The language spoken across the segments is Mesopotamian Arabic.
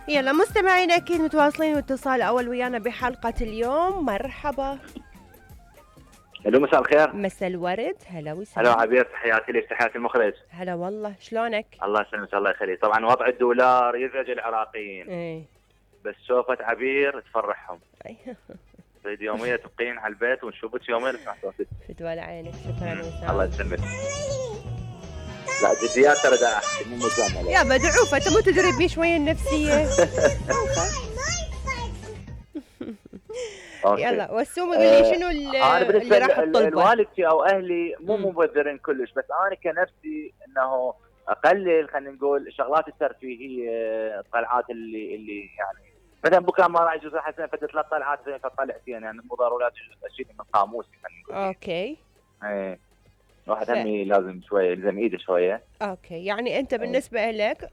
يلا مستمعين اكيد متواصلين واتصال اول ويانا بحلقة اليوم. مرحبا. الو مساء الخير. مساء الورد. هلا وسهلا. هلا عبير، تحياتي لك تحياتي المخرج. هلا والله، شلونك؟ الله يسلمك الله يخليك. طبعا وضع الدولار يزعج العراقيين. ايه بس سوفة عبير تفرحهم. ايوه تريد يومية تبقين على البيت ونشوفك يومين نسمع صوتك. فتوى لعينك. شكرا وسام. الله يسلمك. لا جديات ترى دا احكي مو مجاملة. يا بدعوفة انت مو تدري شوية النفسية. يلا وسوم قول لي شنو اللي راح تطلبه. والدتي او اهلي مو مبذرين كلش، بس انا كنفسي انه اقلل خلينا نقول شغلات الترفيهيه، الطلعات اللي يعني مثلا بكره ما راح يجوز حسنا فتره 3 طلعات زي طلعتين يعني مو ضروري اشيل من قاموسي خلينا نقول. اوكي. ايه الواحد همي لازم شويه يلزم ايده شويه. اوكي يعني انت بالنسبه لك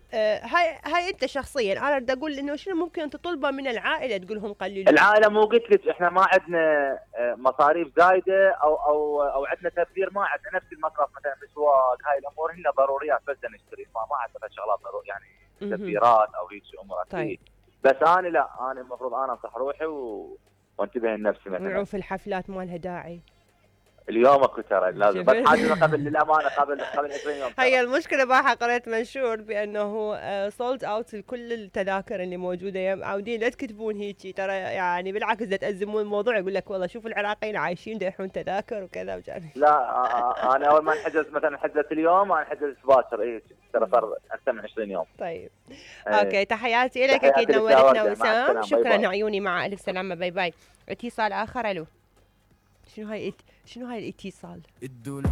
هاي انت شخصيا انا بدي اقول انه شنو ممكن تطلبه من العائله تقول لهم قللوا. العائله مو قلت لك احنا ما عندنا مصاريف زايده او عندنا تبذير، ما عندنا نفس المصرف مثلا مسواق، هاي الامور هي ضروريات بس نشتري، ما عندنا شغلات ضروري يعني تبذيرات او هيك امور. طيب بس انا لا، انا المفروض انا انصح روحي وانتبه لنفسي مثلا. نعوف الحفلات ما لها داعي. اليوم اكو ترى لازم بس حاجه قبل للامانه قبل 20 يوم. هي المشكله بقى قريت منشور بانه سولد اوت كل التذاكر اللي موجوده، عاودين لا تكتبون هيجي ترى يعني بالعكس اذا تأزمون الموضوع يقول لك والله شوف العراقيين عايشين يحون تذاكر وكذا وجاني. لا انا اول ما نحجز مثلا حجزت اليوم انا حجزت باكر ايه ترى صار اكثر من 20 يوم. طيب اوكي تحياتي لك اكيد نورتنا وسام. شكرا عيوني مع الف سلامه باي باي. اتصال اخر. الو شنو هاي الاتصال؟